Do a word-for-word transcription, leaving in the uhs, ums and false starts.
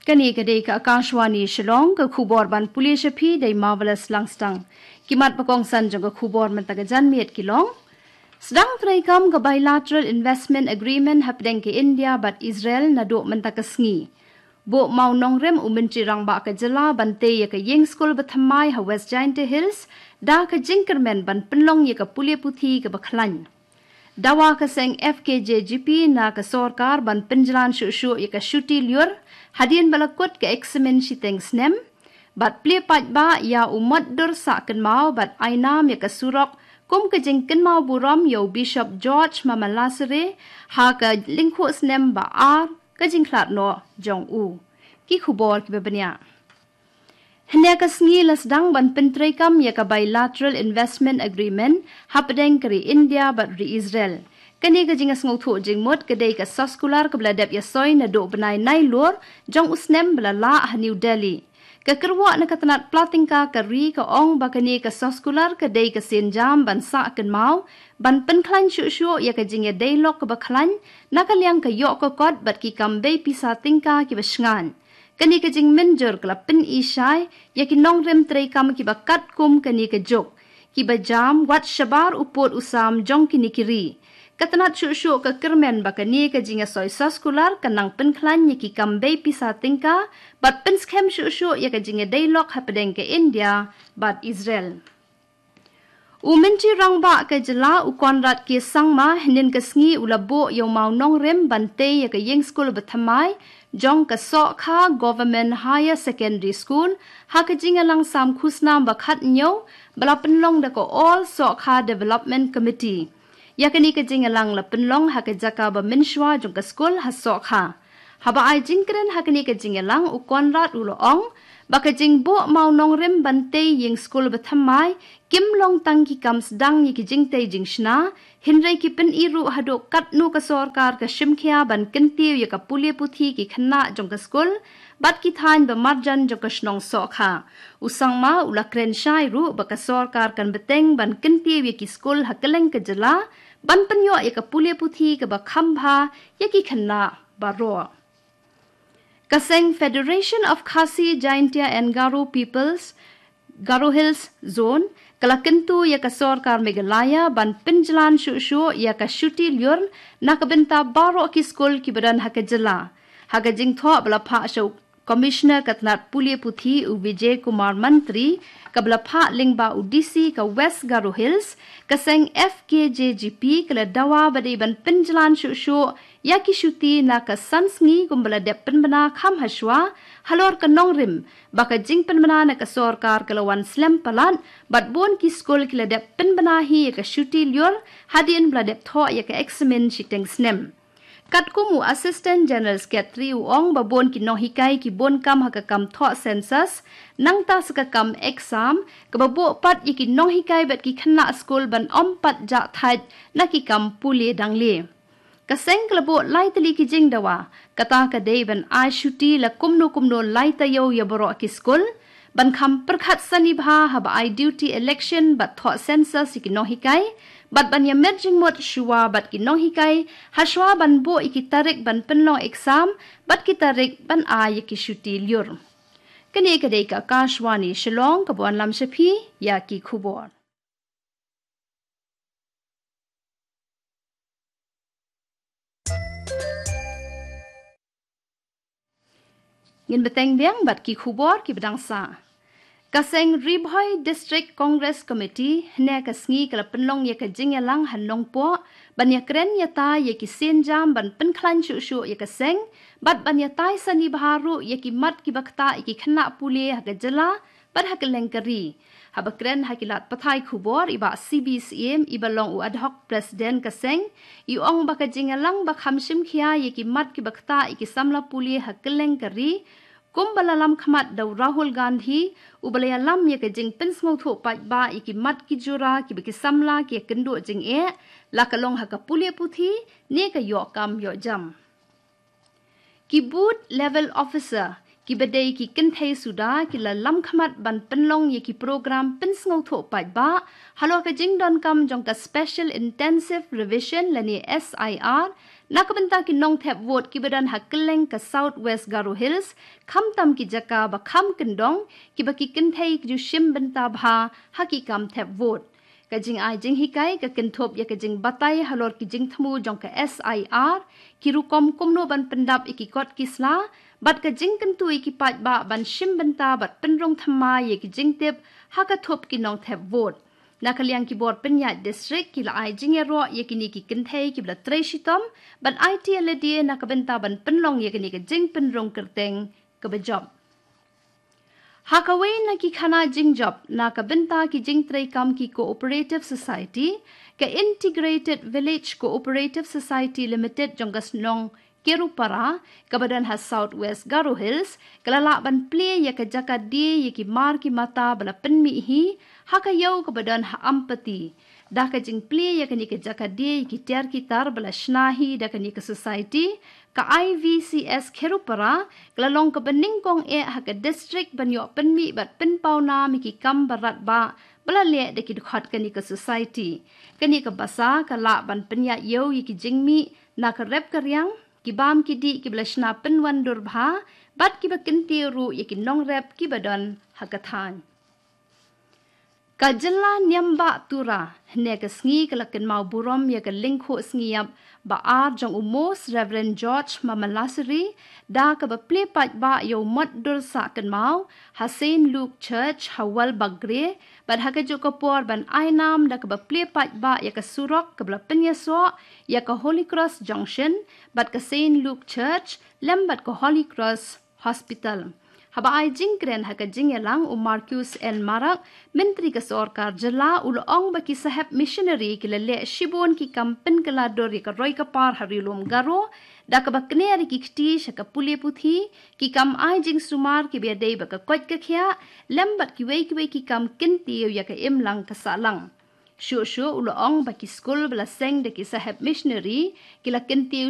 Kane ka dei ka Akashvani Shillong, ka khubor ban pule sha phi da i Marvelous Langstang. Ki mat ba kongsan jong ka khubor mynta ka janmiet ki long: Sdang treikam ka Bilateral Investment Agreement hapdeng ka India bad Israel naduh mynta ka sngi. Buh mawnongrim u Myntri Rangbah ka jylla ban tei ïa ka ïing skul bathymmai ha West Jaintia Hills da ka jingkyrmen ban pynlong ïa ka pule puthi kaba khlaiñ. Dawa ka seng F K J G P na ka sorkar ban pynjlan shuh shuh ïa ka shuti lyiur hadien ba la kut ka eksamin shiteng snem. Bad plie paidbah ïa u mot dur sah kynmaw bad ai nam ïa ka surok kum ka jingkynmaw burom ïa u Bishop George Mamalassery ha ka lyngkhuh snem ba ar ka jingkhlad noh jong u. Ki khubor kiba bniah. Hynne ka sngi la sdang ban pyntreikam ïa ka Bilateral Investment Agreement hapdeng ka ri India bad ri Israel. Kane ka jingsngewthuh jingmut ka dei ka soskular kaba la dep ïasoi naduh bnai Nailur jong u snem ba la lah ha New Delhi. Ka kyrwoh na ka tnat pla tyngka ka ri ka ong ba kane ka soskular ka dei ka sienjam ban sah kynmaw, ban pynkhlaiñ shuh shuh ïa ka jingïadei lok kaba khlaiñ na ka liang ka ïoh ka kot bad ki kam bei pisa tyngka kiba shngaiñ. Kane ka jingmynjur ka la pyni shai ïa ki nongrim treikam kiba katkum kane ka juk, kiba jam wat shabar u pud u sam jong kine ki ri. Ka tnat shuh shuh ka kyrmen ba kane ka jingïasoi soskular kan nang pynkhlaiñ ïa ki kam bei pisa tyngka bad pynskhem shuh shuh ïa ka jingïadei lok hapdeng ka India bad Israel. U Myntri Rangbah ka jylla u Conrad K Sangma hynnin ka sngi u la buh ïa u mawnongrim ban tei ïa ka ïing skul bathymmai jong ka Sohkha Government Higher Secondary School ha ka jingïalang sam khusnam ba khathynñiew ba la pynlong da ka All Sohkha Development Committee. Ïa kane ka jingïalang la pynlong ha ka jaka ba mynshuwa jong ka skul ha Sohkha. Haba ai jingkren ha kane ka jingïalang u Conrad u la ong ba ka jingbuh mawnongrim ban tei ïing skul bathymmai kim long tang ki kam sdang ïa ki jingtei jingshna, hynrei ki pyni ruh haduh katno ka sorkar ka shimkhia ban kyntiew ïa ka pule puthi ki khynnah jong ka skul bad ki thaiñ ba marjan jong ka shnong Sohkha. U Sangma u la kren shai ruh ba ka sorkar kan bteng ban kyntiew ïa ki skul ha kylleng ka jylla ban pynïoh ïa ka pule puthi kaba kham bha ïa ki khynnah baroh. Ka seng Federation of Khasi Jaintia and Garo Peoples Garo Hills Zone ka la kyntu ïa ka sorkar Meghalaya ban pynjlan shuh shuh ïa ka shuti lyiur na ka bynta baroh ki skul kiba don ha ka jylla. Ha ka jingthoh ba la phah sha u Commissioner ka tnat pule puthi u Vijay Kumar Mantri, kaba la phah lyngba u D C ka West Garo Hills, ka seng F K J G P ka la dawa ba dei ban pynjlan shuh shuh ïa ki shuti na ka san sngi kumba la dep pynbna kham hashwa halor ka nongrim ba ka jingpynbna na ka sorkar ka la wan slem palat bad bun ki skul ki la dep pynbna hi ïa ka shuti lyiur hadien ba la dep thoh ïa ka eksamin shiteng snem. Katkum u Assistant General Secretary u ong ba bun ki nonghikai ki bun kam ha ka kam thoh census nangta sa ka kam exam kaba buh pat ïa ki nonghikai bad ki khynnah skul ban ym pat jah thait na ki kam pule dangle. Ka seng ka la buh lai tylli ki jingdawa, kata ka dei ban ai shuti la kumno kumno lai taïew ïa baroh ki skul, ban kham pyrkhat sani bha haba ai duty election bad thoh census ïa ki nonghikai, bad ban ïa met jingmut shuwa bad ki nonghikai hashwa ban buh ïa ki tarik ban pynlong exam bad ki tarik ban ai ïa ki shuti lyiur. Kane ka dei ka Akashvani Shillong kaba wanlam sha phi ïa ki khubor. Ngin bteng biang bad ki khubor kiba dang sah. Ka seng Ri Bhoi District Congress Committee hynne ka sngi ka la pynlong ïa ka jingïalang ha Nongpoh ban ïakren ïatai ïa ki sienjam ban pynkhlaiñ shuh shuh ïa ka seng bad ban ïatai sani bha ruh ïa ki mat kiba ktah ïa ki khynnah pule ha ka jylla bad ha kylleng ka ri. Haba kren ha ki lad pathai khubor i Bah C B Syiem iba long u ad hoc president ka seng, i ong ba ka jingïalang ba kham shim khia ïa ki mat kiba ktah ïa ki samla pule ha kylleng ka ri, kumba la lam khmat da u Rahul Gandhi, uba la ïalam ïa ka jingpynsngewthuh paidbah ïa ki mat ki jura kiba ki samla ki ïakynduh jingeh, la ka long ha ka pule puthi ne ka ïoh kam ïoh jam. Ki Booth Level Officer kiba dei ki kynthei suda ki la lam khmat ban pynlong ïa ki program pynsngewthuh paidbah halor ka jingdonkam jong ka Special Intensive Revision lane S I R Na ka bynta ki nongthep vote kiba don ha kylleng ka South West Garo Hills, khamtam ki jaka ba kham kyndong, kiba ki kynthei ki ju shim bynta bha ha ki kam thep vote. Ka jingai jinghikai ka kynthup ïa ka jingbatai halor ki jingthmu jong ka S I R, ki rukom kumno ban pyndap ïa ki kot ki sla, bad ka jingkyntu ïa ki paidbah ban shim bynta bad pynrung thymmai ïa ki jingtip ha ka thup ki nongthep vote. Na ka liang ki bor pynïaid district ki la ai jingïaroh ïa kine ki kynthei kiba la trei shitom, bad ai ïa lade na ka bynta ban pynlong ïa kane ka jingpynrung kyrteng kaba jop. Ha kawei na ki khana jingjop, na ka bynta ki jingtreikam ki Cooperative Society, ka Integrated Village Cooperative Society Limited jong ka shnong Kerupara, kaba don ha South West Garo Hills, ka la lah ban plie ïa ka jaka die ïa ki mar ki mata ba la pynmih hi, ha ka ïew kaba don ha Ampati. Da ka jingplie ïa kane ka jaka die ïa ki tiar ki tar ba la shna hi da kane ka society, ka I V C S Kerupara, ka la long kaba nyngkong eh ha ka district ban ïoh pynmih bad pynpaw nam ïa ki kam ba radbah, ba la leh da ki dkhot kane ka society. Kane ka basa, ka lah ban pynïaid ïew ïa ki jingmih, na ka rep ka riang, ki bam ki dih kiba la shna pynwandur bha, bad kiba kyntiew ruh ïa ki nongrep kiba don ha ka thaiñ. Ka jylla Niam Bah Tura, hynne ka sngi ka la kynmaw burom ïa ka lyngkhuh sngi ïap ba ar jong u Most Reverend George Mamalassery, da kaba plie paidbah ïa u mot dur sah kynmaw, ha Saint Luke Church, ha Walbagre, bad ha kajuh ka por ban ai nam da kaba plie paidbah ïa ka surok kaba la pynïasoh, ïa ka Holy Cross Junction, bad ka Saint Luke Church, lem bad ka Holy Cross Hospital. Haba ai jingkren ha ka jingïalang u Marcuise N Marak, Myntri ka Sorkar Jylla u la ong ba ki Saheb Missionary ki la leh shibun ki kam pynkylla dur ïa ka roi ka par ha Ri Lum Garo, da kaba kner ïa ki kti sha ka pule puthi, ki kam ai jingsumar kiba ïadei bad ka koit ka khiah, lem bad kiwei kiwei ki kam kyntiew ïa ka imlang ka sahlang. Shuh shuh u la ong ba ki skul ba la seng da ki Saheb Missionary, ki la kyntiew